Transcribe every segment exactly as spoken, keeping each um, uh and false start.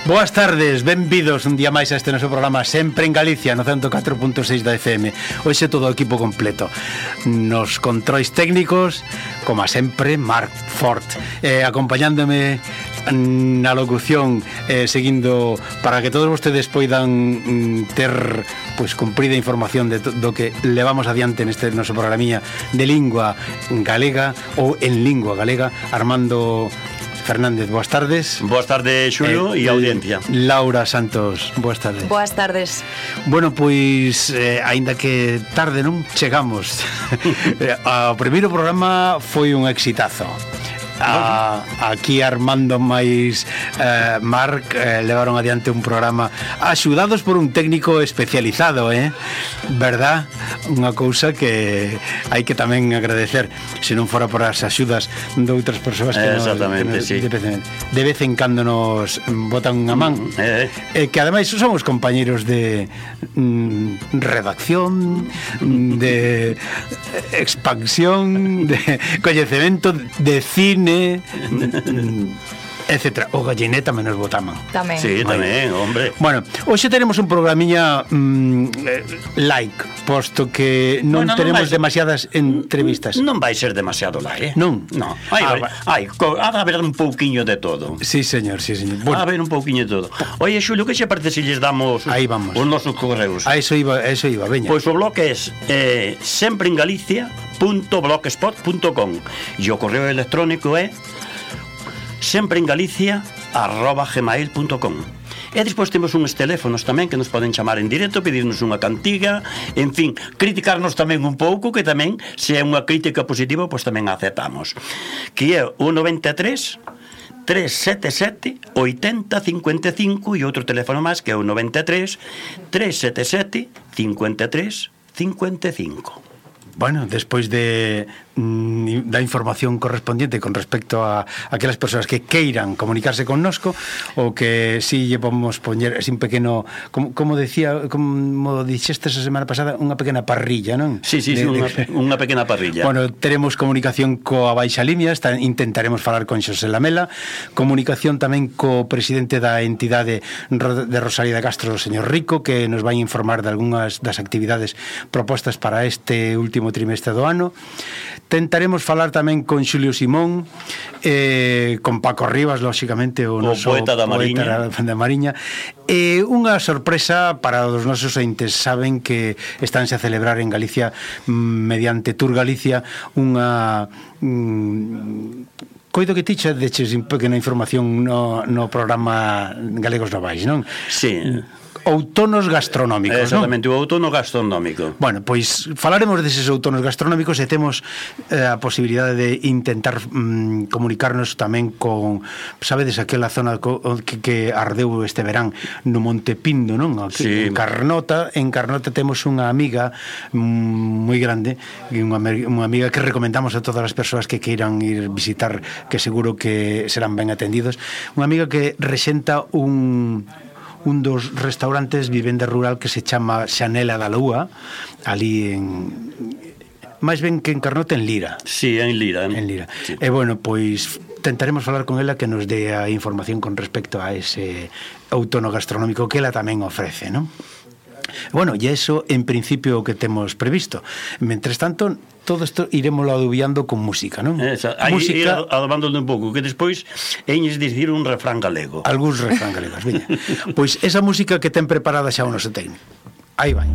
Boas tardes, benvidos un día máis a este noso programa Sempre en Galicia no ciento catro punto seis da F M. Hoxe todo o equipo completo. Nos controis técnicos, como sempre, Marc Fort, eh, acompañándome na locución, eh, seguindo para que todos vostedes poidan mm, ter pois cumprida información de to, do que levamos adiante neste noso programinha de lingua galega ou en lingua galega. Armando Fernández, boas tardes. Boas tardes, Xulio, e eh, audiencia. Laura Santos, boas tardes. Boas tardes. Bueno, pois, eh, aínda que tarde non chegamos. O primeiro programa foi un exitazo. A, aquí Armando máis eh, Marc eh, levaron adiante un programa axudados por un técnico especializado, eh? Verdad? Unha cousa que hai que tamén agradecer, se non fora por as axudas de outras persoas que, exactamente, nos, que nos, sí. de, de vez en cando nos botan unha man, mm, eh. eh, que ademais somos compañeros de mm, redacción, de expansión, de coñecemento, de cine, etcétera. O gallineta menos botaman. Tamén. Sí, tamén, hombre. Bueno, hoxe tenemos un programiña mm, like, posto que non bueno, tenemos non vai, demasiadas entrevistas. Non vai ser demasiado like, eh? Non. No. Hai, ah, hai, ha de haber un pouquiño de todo. Sí, señor, sí, señor. Bueno. Ha de haber un pouquiño de todo. Oye, Xulio, que xe parece se lles damos Aí vamos. os nosos correos? A eso iba, a eso iba, veña. Pois o blog é eh, sempreengalicia punto blogspot punto com e o correo electrónico é sempreengalicia arroba gmail punto com. E despois temos uns teléfonos tamén que nos poden chamar en directo, pedirnos unha cantiga, en fin, criticarnos tamén un pouco, que tamén, se é unha crítica positiva, pois tamén aceptamos. Que é o noventa e tres, tres sete sete, oitenta, cincuenta e cinco e outro teléfono máis que é o noventa e tres, tres sete sete, cincuenta e tres, cincuenta e cinco. Bueno, despois de mm, da información correspondiente con respecto a, a aquelas persoas que queiran comunicarse connosco, ou que si lle vamos poñer así un pequeno, como, como decía, como dixeste esa semana pasada, unha pequena parrilla, non? Sí, sí, de, sí, unha, de... unha pequena parrilla. Bueno, teremos comunicación coa Baixa Limia, está, intentaremos falar con Xosé Lamela, comunicación tamén co presidente da entidade de Rosalía de Castro, o señor Rico, que nos vai informar de algunhas das actividades propostas para este último trimestre do ano. Tentaremos falar tamén con Xulio Simón, eh, con Paco Rivas, lóxicamente, o, o noso poeta da Mariña, poeta da Mariña. E eh, unha sorpresa para os nosos entes. Saben que estánse a celebrar en Galicia, mediante Tour Galicia, unha mm, coido que ti xa deches un pequena información no, no programa Galegos Novais, non? Sí. Outonos gastronómicos, exactamente, non? O outono gastronómico. Bueno, pois falaremos deses outonos gastronómicos e temos eh, a posibilidade de intentar mm, comunicarnos tamén con, sabedes, aquela zona co, que, que ardeu este verán no Monte Pindo, non? Aquí, sí. En Carnota, en Carnota temos unha amiga mm, moi grande, unha, unha amiga que recomendamos a todas as persoas que queiran ir visitar, que seguro que serán ben atendidos. Unha amiga que rexenta un un dos restaurantes vivenda rural que se chama Xanela da Lúa, ali en, máis ben que en Carnota, en Lira. Sí, en Lira. En Lira. Sí. E bueno, pois tentaremos falar con ela que nos dé a información con respecto a ese outono gastronómico que ela tamén ofrece, non? Bueno, e iso en principio o que temos previsto. Mentres tanto, todo isto iremoslo adubiando con música, non? Esa, aí música, ir adobándolo un pouco, que despois eñes dicir un refrán galego. Algúns refrán galegos, veña. Pois esa música que ten preparada xa o noso técnico. Aí vai.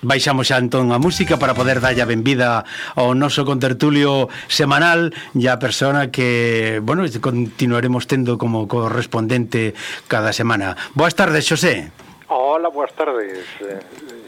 baixamos xa entón a música para poder dalle a benvida ao noso contertulio semanal e a persona que, bueno, continuaremos tendo como correspondente cada semana. Boas tardes, Xosé. Hola, boas tardes,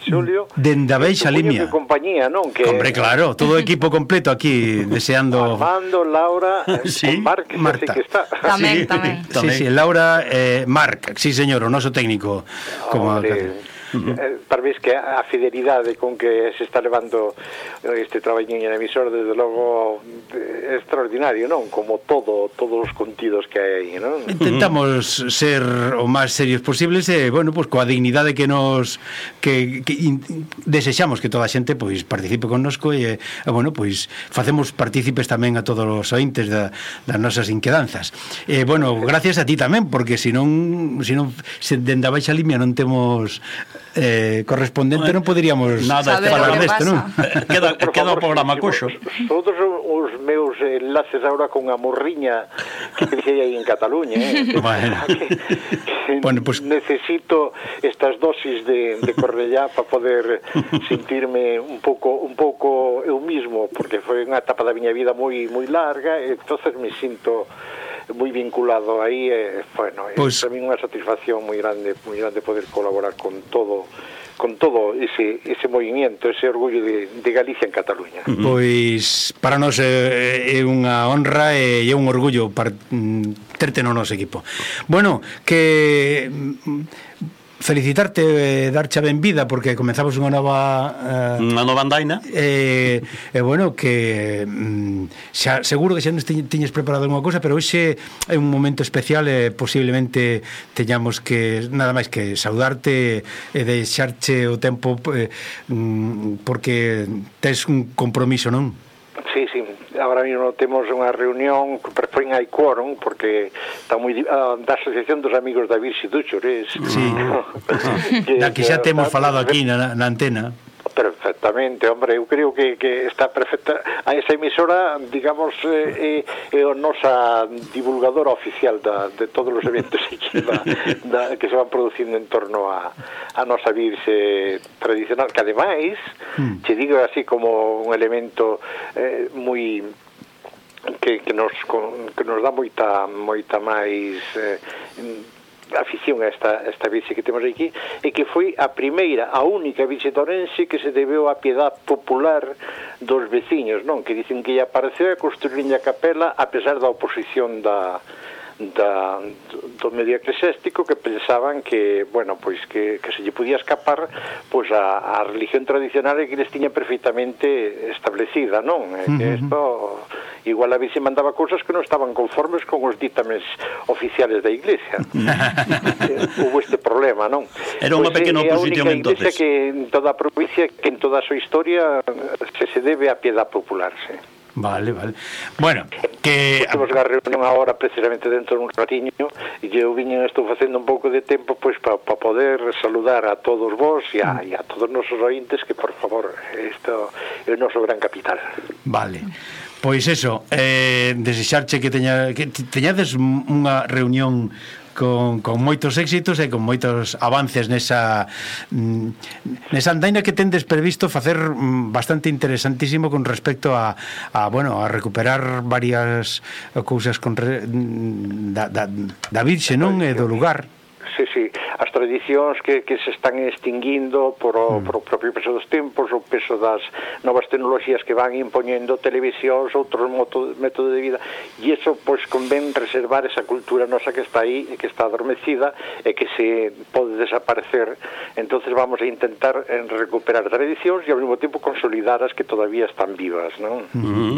Xulio. Dende a Beixa Limia. De compañía, non? Que... Hombre, claro, todo o equipo completo aquí deseando... Armando, Laura, sí, Marc, Marta. Que está. Tamén, sí, tamén. Sí, sí, Laura, eh, Marc, sí señor, o noso técnico. Como Hombre, eh, para vez que a fidelidade con que se está levando este traballiño en emisor, desde logo é extraordinario, non? Como todo, todos os contidos que hai aí, non? Intentamos ser o máis serios posibles e, bueno, pues coa dignidade que nos que, que in, desexamos que toda a xente pois participe connosco e, e bueno, pois facemos partícipes tamén a todos os ointes da, das nosas inquedanzas. E, bueno, gracias a ti tamén, porque se non se non se dende a Baixa Limia non temos eh, correspondente, non poderíamos nada falar desto, non? Queda, queda o programa coxo. Todos os meus enlaces agora con a morriña que dixei aí en Cataluña, eh? Bueno. que, que bueno, pues... necesito estas dosis de, de Cornellá para poder sentirme un pouco un pouco eu mismo, porque foi unha etapa da miña vida moi moi larga, e entonces me sinto moi vinculado aí, e, bueno, pues... é tamén unha satisfacción moi grande, moi grande poder colaborar con todo con todo ese, ese movimiento, ese orgullo de, de Galicia en Cataluña. Pois para nós é, é unha honra e é un orgullo para, mm, terte no noso equipo. Bueno, que felicitarte, eh, darche a benvida porque comenzamos unha nova eh, unha nova andaina e eh, eh, bueno, que mm, xa, seguro que xa nos tiñes preparado alguma cosa, pero hoxe é un momento especial e posiblemente teñamos que nada máis que saudarte e deixarche o tempo eh, mm, porque tes un compromiso, non? Sí, sí, agora mesmo temos unha reunión que foi hai quórum porque está moi uh, da Asociación dos Amigos da Virxe do Chores. Sí. que, da que xa temos falado aquí na, na antena. Perfectamente, hombre, eu creo que, que está perfecta. A esa emisora, digamos, é, é a nosa divulgadora oficial da, de todos os eventos que, da, da, que se van producindo en torno a, a nosa virxe tradicional, que ademais, mm. te digo así como un elemento eh, moi... que, que, nos, que nos dá moita, moita máis... Eh, afición a esta, esta virxe que temos aquí, e que foi a primeira, a única virxe de Ourense que se debeu a piedad popular dos veciños, non? Que dicen que ella apareceu a construir a capela a pesar da oposición da da, do medio eclesiástico, que pensaban que, bueno, pois que, que se lle podía escapar pois a, a religión tradicional que les tiña perfectamente establecida, non? Uh-huh. Que isto, igual a veces mandaba cousas que non estaban conformes con os dítames oficiales da Iglesia. Hubo este problema, non? Era unha pues pequena oposición É a única entonces. iglesia que en toda a provincia, que en toda a súa historia se se debe a piedad popular, sí. Vale, vale. Bueno, que... Temos unha reunión agora precisamente dentro dun ratiño e eu viño, estou facendo un pouco de tempo pois para pa poder saludar a todos vos e a, e a todos os nosos ointes, que por favor, isto é o noso gran capital. Vale. Pois eso, eh, desexarche que teña que teñades unha reunión con, con moitos éxitos e con moitos avances nesa nesa andaina que tendes previsto facer bastante interesantísimo con respecto a, a bueno, a recuperar varias cousas con re, da, da, da Virxe, non? E do lugar. Sí, sí, as tradicións que, que se están extinguindo por o, mm. por o propio peso dos tempos, o peso das novas tecnoloxías que van impoñendo televisións, outros métodos de vida, e iso, pois, convén reservar esa cultura nosa que está aí e que está adormecida e que se pode desaparecer. Entonces vamos a intentar recuperar tradicións e ao mesmo tempo consolidar as que todavía están vivas, non? Mm-hmm.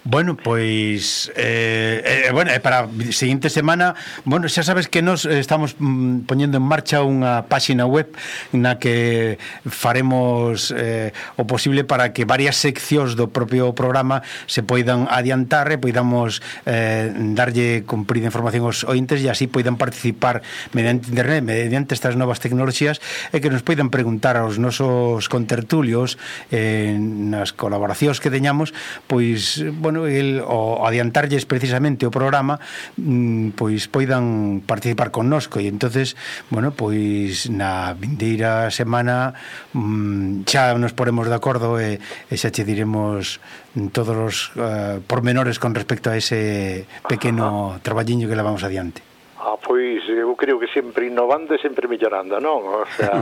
Bueno, pois eh, eh, bueno, eh, para a seguinte semana, bueno, xa sabes que nos estamos mm, poñendo en marcha unha páxina web na que faremos eh, o posible para que varias seccións do propio programa se poidan adiantar e poidamos eh, darlle cumprida información aos ointes e así poidan participar mediante internet, mediante estas novas tecnoloxías, e que nos poidan preguntar aos nosos contertulios eh, nas colaboracións que teñamos, pois, bueno, bueno, el, o adiantarlles precisamente o programa, mm, pois poidan participar connosco, e entonces, bueno, pois na vindeira semana mm, xa nos poremos de acordo e, e xa che diremos todos os uh, pormenores con respecto a ese pequeno traballiño que levamos adiante. Ah, pois eu creo que sempre innovando e sempre mellorando, non? O sea,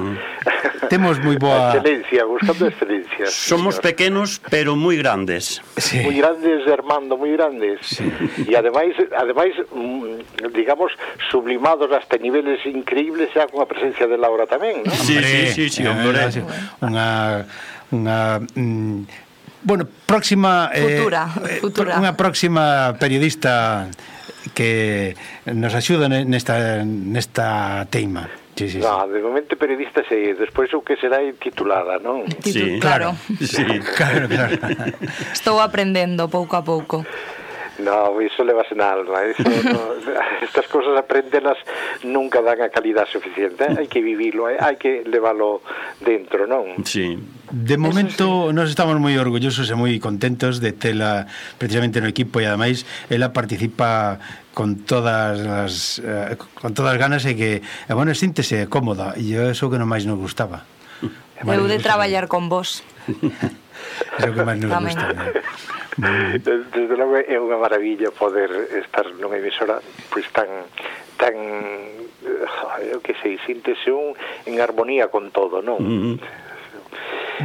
temos moi boa excelencia, buscando excelencia. Somos señor. Pequenos, pero moi grandes. Sí. Moi grandes, Armando, moi grandes. Sí. E ademais, ademais, digamos, sublimados hasta niveles increíbles xa con a presencia de Laura tamén, non? Sí, sí, sí, sí, hombre. Unha unha mm, bueno, próxima futura, eh, futura. Unha próxima periodista que nos axuda nesta nesta teima. Sí, sí, no, sí. De momento periodista sei, despois o que será titulada, non? Sí, claro. Sí, claro, claro. Estou aprendendo pouco a pouco. No, iso levase na alma, eso, no, estas cosas aprendelas nunca dan a calidad suficiente, hai que vivilo, hai que leválo dentro, non? Sí. De momento sí. Nos estamos moi orgullosos e moi contentos de tela precisamente no equipo, e ademais ela participa con todas as eh, con todas as ganas, e que eh, bueno, síntese cómoda, e iso que non máis nos gustaba. Eu de traballar con vos. Iso que máis nos gusta. Desde logo é unha maravilla poder estar nunha emisora pois tan tan eu que sei, síntese un en armonía con todo, non? Mm-hmm.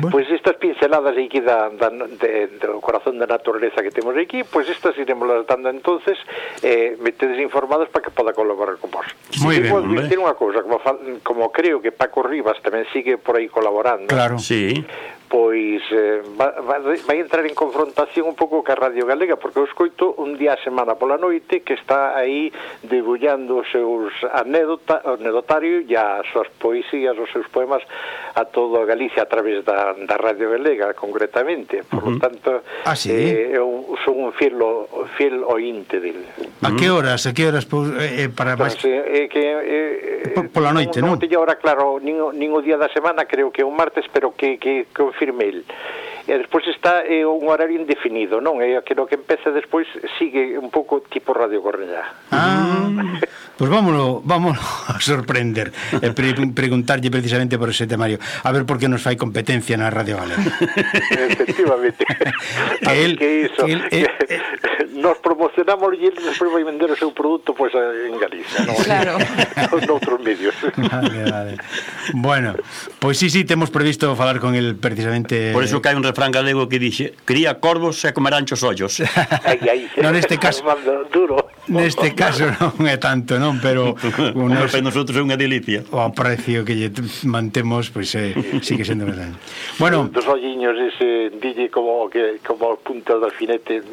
Bueno. Pois estas pinceladas aquí da, da, de, do corazón da naturaleza que temos aquí, pois estas iremos dando entonces, eh, metedes informados para que poda colaborar con vos. Moi ben, hombre. Ten unha cousa, como, como creo que Paco Rivas tamén sigue por aí colaborando. Claro. Sí. Pois eh, vai, vai entrar en confrontación un pouco ca Radio Galega, porque eu escoito un día a semana pola noite que está aí debullando os seus anécdota, anedotario e as súas poesías, os seus poemas a toda Galicia a través da, da Radio Galega, concretamente. Por uh-huh. lo tanto, ah, ¿sí? eh, eu son un fiel, fiel ointe del. A que horas? A que horas eh, para máis? Pues, eh, que eh, pola noite, non? Non te ahora claro, nin, nin o día da semana, creo que é un martes, pero que que confirme el. E despois está eh, un horario indefinido, non? É aquilo que empeza despois sigue un pouco tipo Radio Cornellá. Ah, pois pues vámonos, vámonos a sorprender e pre preguntarlle precisamente por ese temario, a ver por que nos fai competencia na Radio Galega. Efectivamente. Que el, que iso, que el, eh, eh, nos promocionamos e ele despois vai vender o seu produto pois pues, en Galicia, non? Claro. Noutros medios. Vale, vale. Bueno, pois pues sí, sí, temos previsto falar con el precisamente. Por eso que hai un refrán galego que dixe: cría corvos e comerán chos ollos. Ai, ai. No, neste caso duro. Neste caso non é tanto, non, pero unos, para nosotros é unha delicia. O precio que lle mantemos, pois pues, eh, sigue sendo verdade. Bueno, dos olliños ese dille como que como punta do alfinete,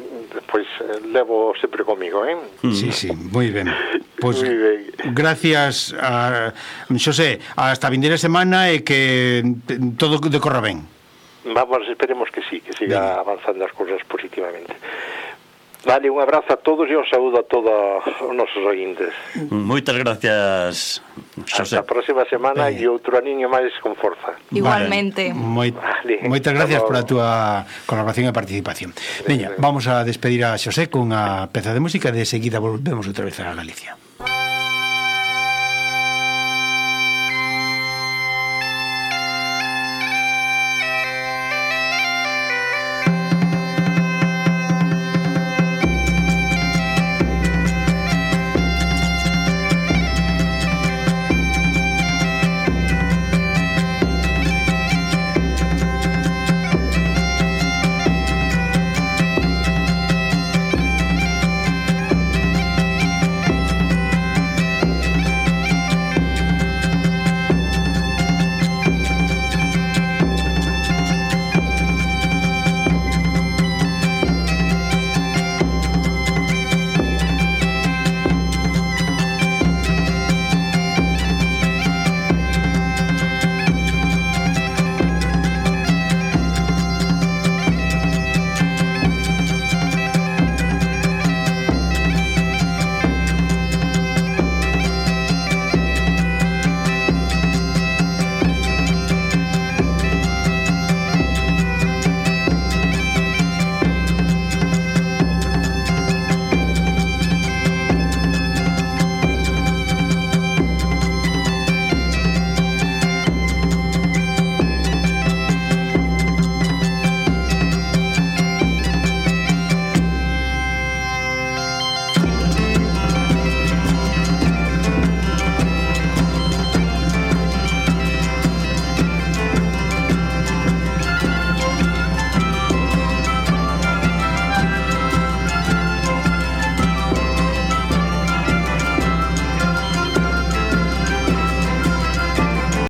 pois pues, levo sempre comigo, eh? Sí, sí, moi ben. Pois pues, gracias a Xosé, hasta a vindeira semana e que todo decorra ben. Vamos, esperemos que sí, que siga bien avanzando as cousas positivamente. Vale, un abrazo a todos e un saúdo a todos os nosos ointes. Moitas gracias, Xosé. Hasta a próxima semana e outro aniño máis con forza. Igualmente. Vale. Moi, vale. Moitas gracias pola túa colaboración e participación. Veña, vamos a despedir a Xosé con a peza de música e de seguida volvemos outra vez a Galicia.